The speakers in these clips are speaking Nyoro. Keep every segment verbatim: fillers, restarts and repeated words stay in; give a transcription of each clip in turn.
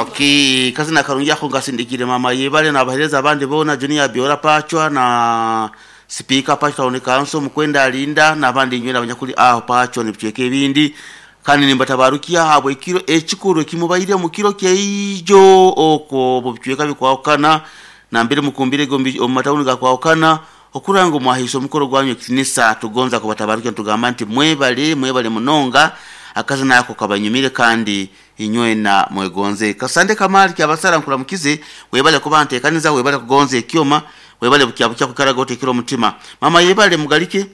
Okay, kazi na karungi ako ngasindikire mama yebale n'abahereza abandi bona Junior Biora Pachwa na Speaker Pachwa Town Council mukwenda alinda n'abandi nywera abanyakuli aho Pachwa nibicweka ebindi kandi nimbatabarukia habwe ekiro ekikuru ekimubaire mu kiro kyeijo oko mubicweka bikwawukana nambere mukumbire gombi omu matawuni gakwawukana okuranga omwahiso omukoro gwanyu ekitinisa tugonza kubatabarukia tugamba nti mwebale mwebale munonga akazi nako kabanyumire kandi inywena mwegonze kasande kamali kyabasara nkulamukize webale kuba ntekaniza webale kugonza ekyoma webale bukyabukya kukaraga otekera omutima mama yebale mugalike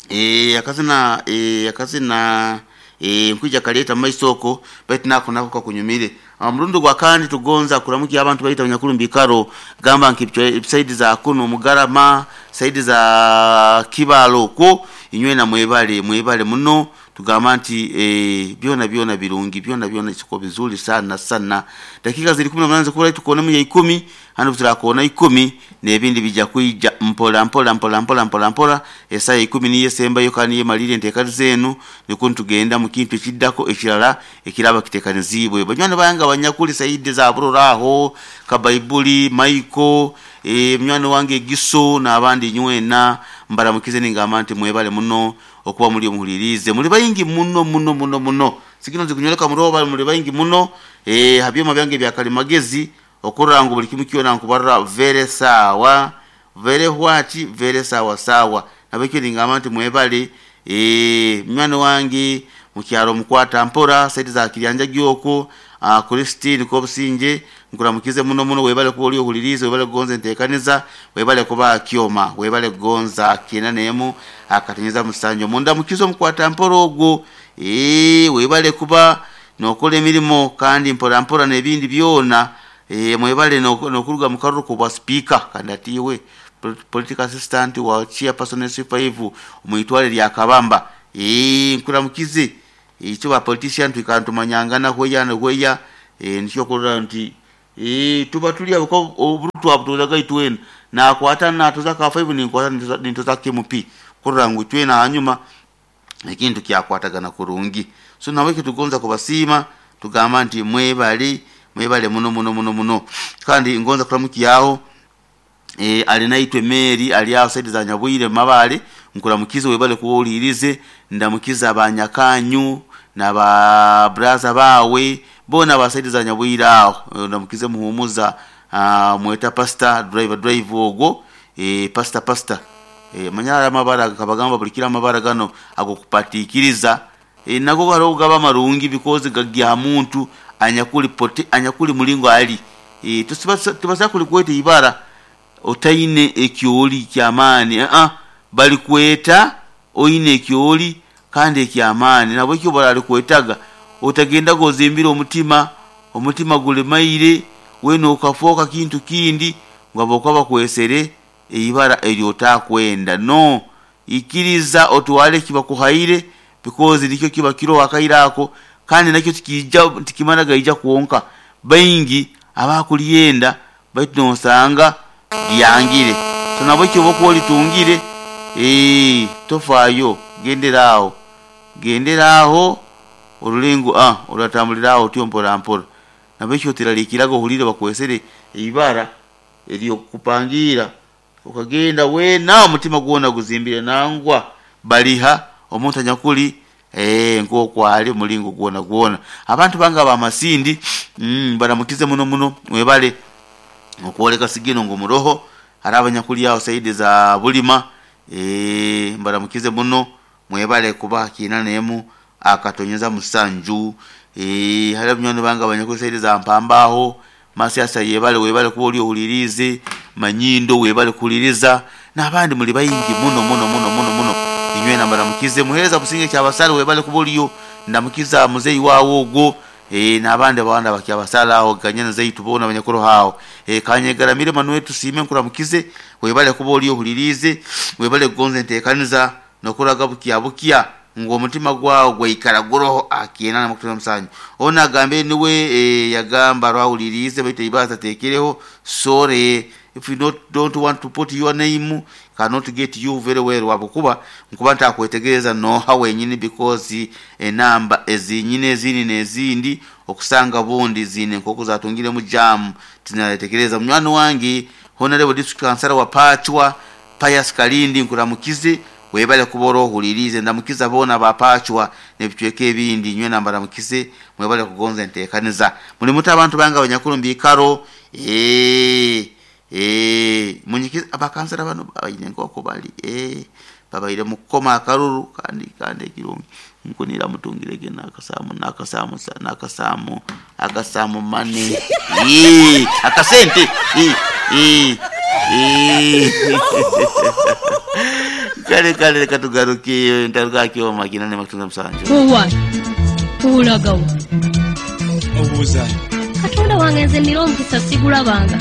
eh akazina eh akazina eh nkwija kaleta maisoko baitu nako nako kakunyumire murundi gwa kandi tugonza kulamukia abantu baita abanyakuru mbikaro gamba nki saidi za kuno mugarama saidi za kibalo ko inywena mwebale mwebale muno tugamba nti eh, byona byona birungi byona byona siko bizuri sana sana dakika ziri kumi na munane zikubura tukone mu ya ikumi hano turakona ikumi n'ebindi bijja kwijja mpola mpola mpola mpola mpola mpola esaa ikumi niye sembayo kandi yemalire enteekani zenu nikwo tugenda mu kintu ekiddako ekirala ekiraba kiteekanizibwe banywani bange abanyakuli saidi za burora aho kabaibuli maiko e, munywani wange giso n'abandi nywena mbaramukize ningamba nti mwebale muno okuba muri omuhulirize muri bayingi muno muno muno muno sigino zikunyoleka muroba muri bayingi muno eh habyoma byange bya kalimagezi okuranga buli kimu kyona nkubarra vere sawa vere what vere sawa sawa nabekyo ningamba nti mwebale eh mwana wange mukyalo mukwata mpora saidi za kiryanja gyoko uh, Christine Kobusinje nkuramukize muno muno webale kuba oli ohulirize webale kugonza enteekaniza webale kuba kyoma webale kugonza kyena nemu akatenyeza musanjo munda mukizo mukwata mpora ogwo eh webale kuba nokola emirimu kandi mpora mpora n'ebindi byona eh mwebale nokuruga mu karuru kubwa speaker kandi atiwe political assistant wa chairperson S five omwitwale lya Kabamba eh nkuramukize icyo ba politician tukantumanyangana hweya na hweya eh nicyo kurora nti eh tuba tuli abo oburutu abutuzaga itwena nakwata natuza ka five ninkwata nintuza K M P kurora ngu itwena hanyuma ekintu kyakwatagana kurungi so nawe kitugonza kubasiima tugamba nti mwebale mwebale muno muno muno muno kandi ngonza kulamukiyaho eh alinaitwe Mary ali aho saidi za Nyabwire mabale nkulamukize webale kuwulirize ndamukiza abanyakanyu na ba braza bawe bona basaidi za Nyabwire aho ndamukize muhumuza uh, mweta pastor driver drive ogwo eh pastor pastor eh manyara amabara kabagamba bulikira amabara gano agokupatikiriza e, nago haro gaba marungi because gagya muntu anyakuli pote anyakuli mulingo ali e, tusibasa tubasa kulikwete ibara otaine ekyoli kyamaani a uh -uh. Bali kweta oine ekyoli kandi ekyamaani nabwe kyo bali kwetaga otagenda gozimbira omutima omutima gulemaire weno okafoka kintu kindi ngabo kwaba kwesere eibara eryotakwenda no ikiriza otwale kibakuhaire because nikyo kiba kiro akairako kandi nakyo tikija tikimana gaija kuonka baingi abakuliyenda baitu nosanga lyangire so nabwe kyo bokoli eh tofayo genderaawo genderaawo olulengo ah olatambulirawo otyo mpola mpola nabekyo tiralikirago hulire bakwesere ibara eriyo kupangira ukagenda we na omutima gwona guzimbire nangwa baliha omuntu anyakuli eh nko kwali mulingo gwona gwona abantu banga ba masindi mm, baramukize muno muno webale okwoleka sigino ngo muroho hari abanyakuli aho saidi za bulima eh mbaramukize muno mwebale kuba kina nemu akatonyeza musanju eh hari abanywanyi banga abanyakuli saidi za mpambaho masiasa yebale webale kuba oli ohulirize manyindo webale kuliriza n'abandi muri bayingi muno muno muno muno muno inywe nambaramukize muhereza businge kyabasale webale kuba oliyo ndamukiza muzeyi wawo ogwo eh n'abandi abandi bakyabasala aho ganyana zeitu bona abanyakuru hawo eh kanyegaramire manuwe tusime nkuramukize webale kuba oliyo ohulirize webale kugonza enteekaniza nokuraga bukia bukia ngo omutima gwawo gwaikara guroho akiena na musanyu ona agambe niwe e, yagamba rwawulirize baita ibaza tekereho sorry if you not, don't want to put your name cannot get you very well wabukuba nkuba ntakwetegereza noha wenyini because enamba ezinyine ezindi n'ezindi Okusanga bundi zine enkoko zatungiremu jamu tinatekereza. Munywani wange Honorable District Councilor wa Pachwa Pius Kalindi, nkuramukize, webale kuba orohulirize. Ndamukiza bona bapachwa nebicweka ebindi, nywe nambaramukize, mwebale kugonza entekaniza. Muli muta abantu bange abanyakuru mbikaro, eh eh munyikiza abakansera bano baine enkoko bali eh babaire mukoma akaruru kandi kandi ekirungi nkunira mutungirege nakasamu nakasamu nakasamu akasamu mane eh akasente eh eh eh kale kale reka tugaruke ntaruka kyoma kinane makutunza musanju. Owa olagawa? Obuuza. Katonda wange, nze nira omukisa sigulabanga.